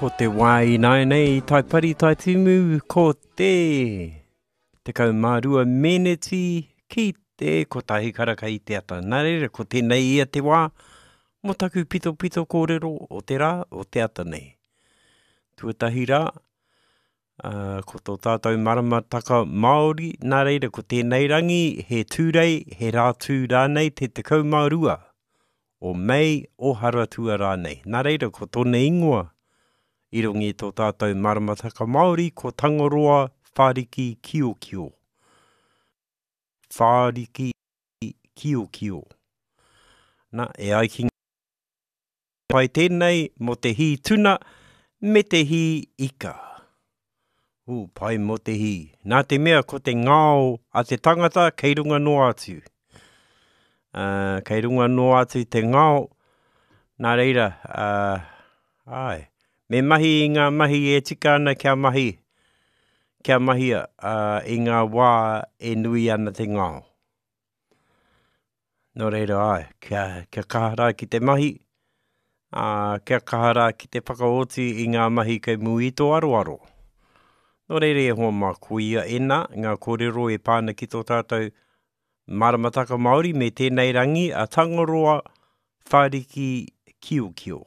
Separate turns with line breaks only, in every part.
Ko te wā ināianei i Taipari Taitimu ko te 12 meneti ki te kotahi karaka i te ata. Nā reira, ko tēnei ia te wā mō taku pitopito kōrero o te rā, o te ata nei. Tuatahi rā, ā, ko tō tātou maramataka Māori, nā reira ko tēnei rangi he Tūrei, he Rātū rānei te 12 o Mei, o Haratua rānei. Nā reira ko tōna ingoa i runga i tō tātou maramataka Māori ko Tangaroa Whāriki Kiokio. Whāriki Kiokio. Nā, e ai ki Pai tēnei mō te hī tuna me te hī ika. Ū, pai mō te hī. Nā te mea ko te ngao a te tangata kei runga noa atu. Uh, kei runga noa atu te ngao. Nā reira, uh, āe, me mahi i ngā mahi e tika ana kia mahi, kia mahia uh, i ngā wā e nui ana te ngao. Nō reira, āe, kia, kia kaha rā ki te mahi, ā, kia kaha rā ki te whakaoti i ngā mahi kei mua i tō aroaro. Nō reira e hoa mā, koia ēnā ngā kōrero e pā ana ki tō tātou maramataka Māori me tēnei rangi a Tangaroa Whāriki Kiokio.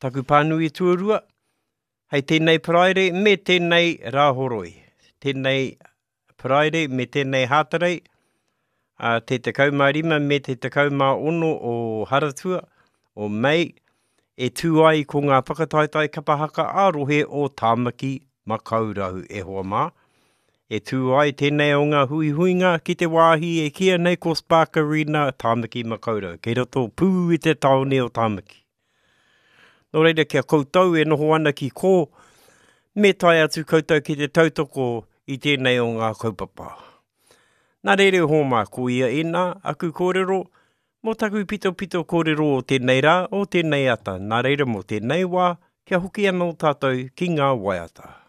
Taku pānui tuarua, hei tēnei Paraire me tēnei Rāhoroi, tēnei Paraire me tēnei Hātarei, ā, te 15 me te 16 o Haratua, o Mei, e tū ai ko ngā whakataetae kapa haka ā-rohe o Tāmaki Makaurau, e hoa mā. E tū ai tēnei o ngā huihuinga ki te wāhi e kīia nei ko Spark Arena Tāmaki Makaurau, kei roto pū i te tāone o Tāmaki. Nō reira, ki a koutou e noho ana ki kō, me tae atu koutou ki te tautoko i tēnei o ngā kaupapa. Nā reira e hōmā, ko ia ēnā aku kōrero, mō taku pitopito kōrero o tēnei rā, o tēnei ata, nā reira mō tēnei wā, kia hoki anō tātou ki ngā waiata.